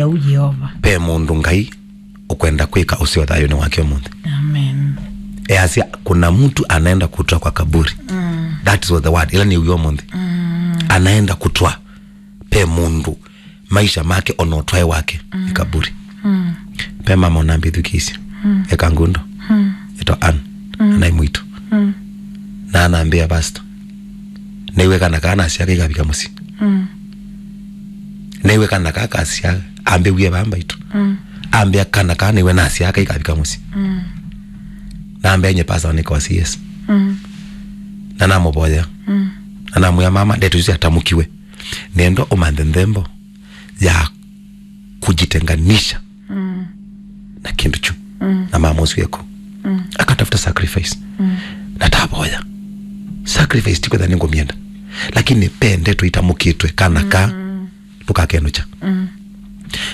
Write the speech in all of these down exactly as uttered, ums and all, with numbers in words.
Yau Yeova. Pe mũndũ Ngai ũkwenda kwĩka ũseo thayũnĩ wake ũmũnthĩ. Amen. Easya, kuna mtu anaenda kutoa kwa kaburi. Mm. That was the word. Ĩla nĩ ũmũnthĩ. Mm. Anaenda kutoa. Pe mũndũ maisha make ona ũtwae wake nĩ kaburi. Mm. Pe mama ũnambĩthukĩĩsye. Mm. Eka ngundo. Mm. Ĩtwa Ann. Mm. Anaĩ mwitũ. Mm. Na anambĩa, "Pastor, nĩw'e kana kaa nasya kaikavika mũsyĩ." Mm. Nĩw'e kana kaa kasya, ambĩwie vaa mbaitũ. Mm. Ambĩa kana kaa nĩw'e nasya kaikavika mũsyĩ. Mm. Nambĩa nye pastor nĩkosi yes. Mm. Na namũvoya. Mm. Na namwĩa, "Mama, ndeto isu syatamũkiwe. Nenda ũmanthe nthembo ya kujitenganisha na kindu kyu." Mm. Na mama ũsu eko. Mm. Akatafuta sacrifice. Mm. Na tavoya. Sacrifice ti kwetha nĩngũmyenda. Lakini pe ndeto itamũkĩtwe kana ka ndũkakenũkya. Mm.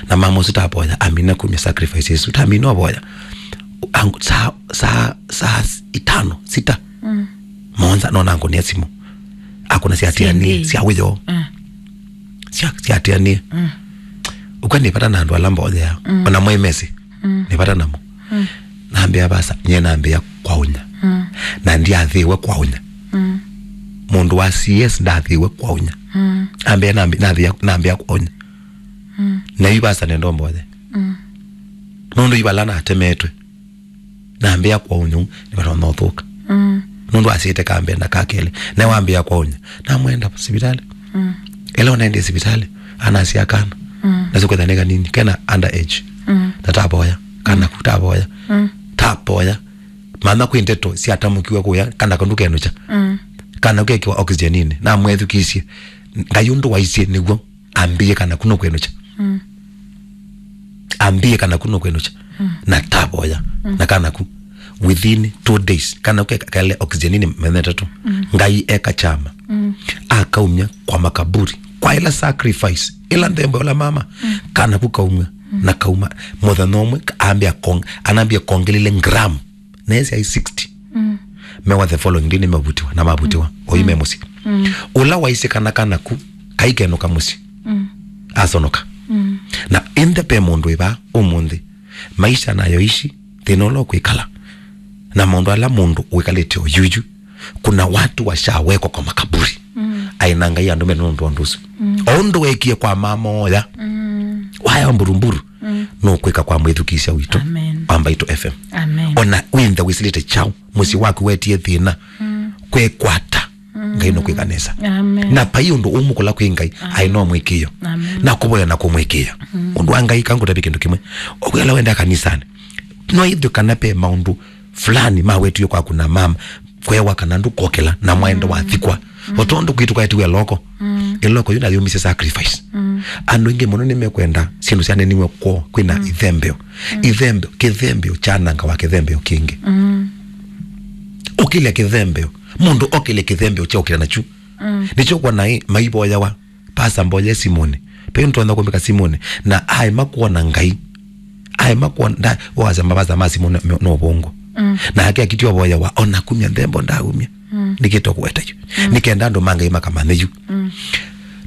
Na mama ũsu tavoya, amina kumya sacrifice isu. Tamina ũvoya. Ang-, saa, saa, saa itano, sita. Mm. Mũonza, nona angũnĩa simũ. Akũna sya T N A, sya wĩoo. Mm. Sya, sya T N A. Mm. Ũka nĩ vata na andũ ala mboyea. Mm. Ona mwe mesi. Mm. Nĩ vata namo. Mm. Nambĩa, "Vasa, nye nambĩa kwaũnya." Mm. Na ndiathĩwe kwaũnya. Mm. Mũndũ wa C S ndathĩwe kwaũnya. Mm. Ambĩa nambi-, nathĩa, nambĩa kwaũnya. Mm. Na yu vasa nenda ũmboye. Mm. Nũndũ yu vala natemetwe. Nambĩa kwaũnya, nĩvatonya ũthũka. Mm. Nũndũ asĩte kambee na kakelĩ. Na wambĩa kwaũnya. Namwenda sivitalĩ. Mm. Ĩla ũnaendie sivitalĩ, anasya kana. Mm. Na sikwetha nĩ kanini, kena under age. Mm. Na tapoya. Kana ku tapoya. Mm. Tapoya. Mana kwĩ ndeto syatamũkiwe kũya, kana kandu kenũkya. Mm. Kana kekiwa oxygeninĩ. Namwethukisye. Ngai ũndũ waisye nĩw'o. Ambĩe kana ku nũkwenũkya. Mm. Ambĩe kana ku nũkwenũkya. Mm. Na tavoya. Mm. Na kana ku within two days, kana ku ke-, kale oxygeninĩ mĩthenya ĩtatũ. Mm. Ngai eka kyama. Mm. Akaumya kwa makaburi. Kwa ĩla sacrifice, ĩla nthembo ĩla mama, mm, kana ku kaumya, mm, na kauma, mũthenya ũmwe, ambĩa kong-, anambĩa kongelile gram. Na esi ai sixty. Mm. Mewa the following day nĩmevutiwa, na mavutiwa. Mm. Oyu me mũsyĩ. Mm. Ũla waisye kana kana ku, kaikenũka mũsyĩ. Mm. Asonoka. Mm. Na ĩndĩ pe mũndũ ĩva ũmũnthĩ. Maisha nayo ishi, thĩna ũla ũkwĩkala. Na maũndũ ala mũndũ wĩkalĩte oyuyu. Kuna watu washawekwa kwa makaburi. Mm. Aĩ na Ngai andũ mena ũndũ ũndũ ũsu. Mm. O ũndũ wekie kwa mama oya. Mm. Waya mburumburu. Mm. Nũkwĩka kwa mwĩthukĩĩsya witũ. Amen. Wa Mbaitũ F M. Amen. Ona wĩnthe wĩsilĩte kyaũ, mũsyĩ, mm, waku wetie thĩna. Mm. Kwekwata. Mm. Ngai nũkwĩka nesa. Amen. Na pai ũndũ ũmũkũla kwĩ Ngai, amen, aĩ no mwĩkĩĩo. Amen. Na kũvoya na kũmwĩkĩĩa. Mm. Ũndũ wa Ngai kangũtavye kĩndũ kĩmwe. Ũkwĩla wenda kanisanĩ. No ithwe kana pe maũndũ fulani mawetiwe kwaku na mama, kwewa kana ndũkokela na mwaenda, mm, wathikwa. Mm. O tondũ kwitũ kwetiwe loko. Mm. Ĩloko yu nayumisye sacrifice. Mm. Andũ aingĩ mũno nĩmekwenda syĩndũ syaneniwe kwoo kwĩna, mm, ithembeo. Mm. Ithembeo, kĩthembeo kyanangawa kĩthembeo kĩngĩ. Mm. Ũkĩlya kĩthembeo, mũndũ okĩlya kĩthembeo kya ũkĩla nakyu. Mm. Nĩkyo kwona ĩ, maivoyawa. Pasa mboye simũnĩ. Pe nĩtonya kũmbĩka simũnĩ. Na aema kwona Ngai. Aema kwona, nda, wasya mavasa ma simũ no, no, no vongo. Mm. Na ake akiti ovoya wa, ona kumya nthembo ndaumya. Mm. Nĩkĩto kũweta yu. Mm. Nĩkenda andũ ma Ngai makamanye yu. Mm.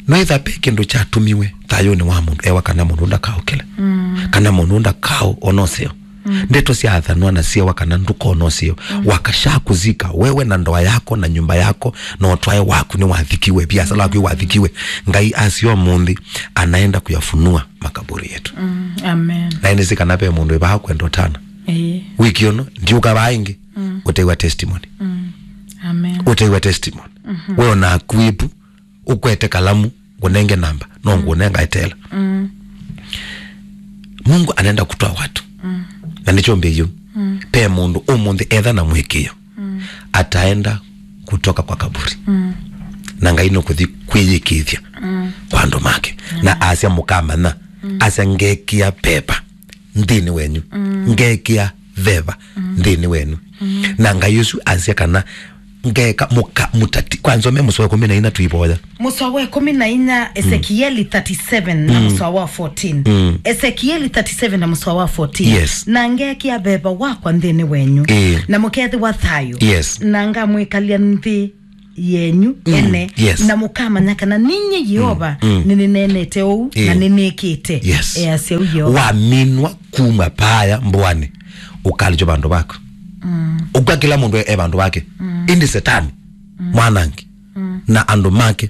No ĩtha pe kĩndũ kyatumiwe thayũnĩ wa mũndũ, ewa kana mũndũ ndakaũkĩle. Mm. Kana mũndũ ndakaũ ona ũseo. Mm. Ndeto syaathanwa na syewa kana ndũkona ũseo. Mm. Wakasha kuzika, wewe na ndoa yako na nyumba yako na ũtwae waku nĩwathikiwe, biasala waku wathikiwe. Ngai asio mũnthĩ anaenda kuyafunua makaburi yetu. Mm. Amen. Na ĩnĩsĩ kana ve mũndũ ĩvaa kwenda ũtana. Ĩĩ. Wiki ũno, ndiũka vaa ĩngĩ, mm, ũteiwa testimony. Mm. Amen. Ũteiwa testimony. Mhm. We ona akuĩpu, ũkwete kalamu, ngũnenge namba, no, mm, ngũnenga etela. Mm. Mungu anaenda kutoa watu. Mm. Na nĩkyo mbĩyu. Mm. Pe mũndũ ũmũnthĩ etha na mwĩkĩĩo. Mm. Ataenda kutoka kwa kaburi. Mm. Na Ngai nũkũthi kwĩyĩkĩĩthya, mm, kwa andũ make. Mm. Na asya mũkamanya, mm, asya ngekĩa pepa nthĩnĩ wenyu. Mm. Ngekĩa veva, mm, nthĩnĩ wenyu. Mm. Na Ngai ũsu asya kana ngeka mũka-, mũtati-, kwa nzome mũsoa wa ĩkũmi na inya tũivoya. Mũsoa wa ĩkũmi na inya, mm, Esekieli thirty-seven na, mm, mũsoa wa fourteen. Mm. Esekieli thirty-seven na mũsoa wa fourteen. Yes. Na ngekĩa veva wakwa nthĩnĩ wenyu. Ĩĩ. Na mũkethĩwa thayũ. Yes. Na ngamwĩkalya nthĩ yenyu ene, yes, na mũkamanya kana ninyie Yeova nĩnĩneenete ũu na nĩnĩkĩte, yes, easya ũu Yeova. Waminwa kuma paaya mbũanĩ, ũkalĩkyo vandũ vaku. Ũkw'a kĩla mũndũ e, e vandũ vake. Ĩndĩ Setani, mwanangi, na andũ make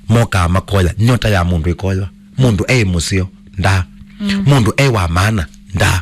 mokaa makoya, nyota ya mũndũ ĩkoywa. Mũndũ e mũseo, ndaa. Mũndũ e wa maana, ndaa.